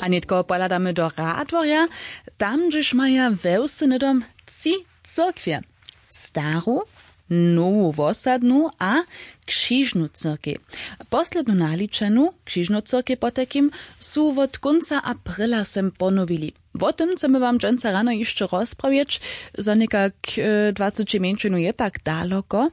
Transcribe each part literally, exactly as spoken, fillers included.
A nětko pohladamy do Radworja. Tam hdźež maja we wsy hnydom tři cyrkwje, staru, nowu wosadnu a křižnu cyrkej. Poslednu naličenu, křižnu cyrkej potajkim, su wot kónca aprila sem ponowili. Wo tym chcemy wam dźensa rano hišće rozprawjeć. Za někak dwaceći mjeńšinu je tak daloko.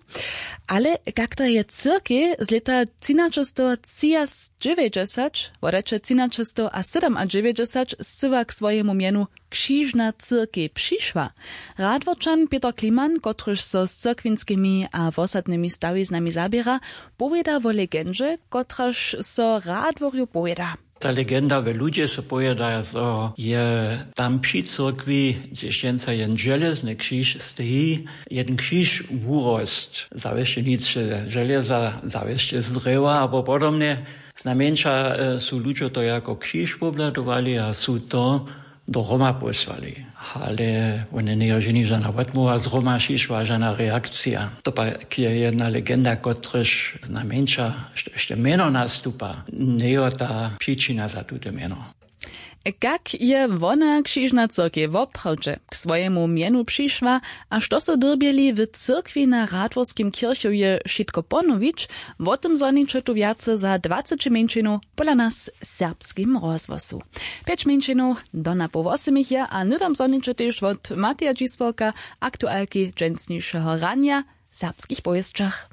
Ale kak ta je cyrkej z lěta třinaćestowatřiadźewjećdźesać wodajće třinaćestowasydomadźewjećdźesać scyła k swojemu mjenu křižna cyrkej přišła, Radworčan Pětr Kliman, kotryž so z cyrkwinskimi a wosadnymi stawiznami zaběra, powěda wo legendźe, kotraž so Radworju powěda. Ta legenda w ludźe so powěda, zo je tam při cyrkwi, hdźež dźensa jen železny křiž steji, jeden křiž wurosł, zawěsće nic železa, zawěsće z drjewa abo podobnje. Znajmjeńša su ludźo to jako křiž wobhladowali a su to do Roma pósłali. Ale wone njejo ženi žana wotmołwa z Roma přišła, žana reakcija. To pak je jedna legenda, kotryž znajmjeńša hišće mjeno nastupa, njejo ta přičina za tute mjeno. Kak je wona křižna cyrkej woprawdźe k swojemu mjenu přišła a što so dyrbjeli w cyrkwi na Radworskim kěrchowje wšitko ponowić, wo tym zhoniće tu wjace za dwaceći mjeńšinu pola nas w Serbskim rozhłosu. Pjeć mjeńšinow do na poł wosymich je a hnydom zhoniće tež wot Mateja Dźisworka, aktualki dźensnišeho ranja, w serbskich powěsćach.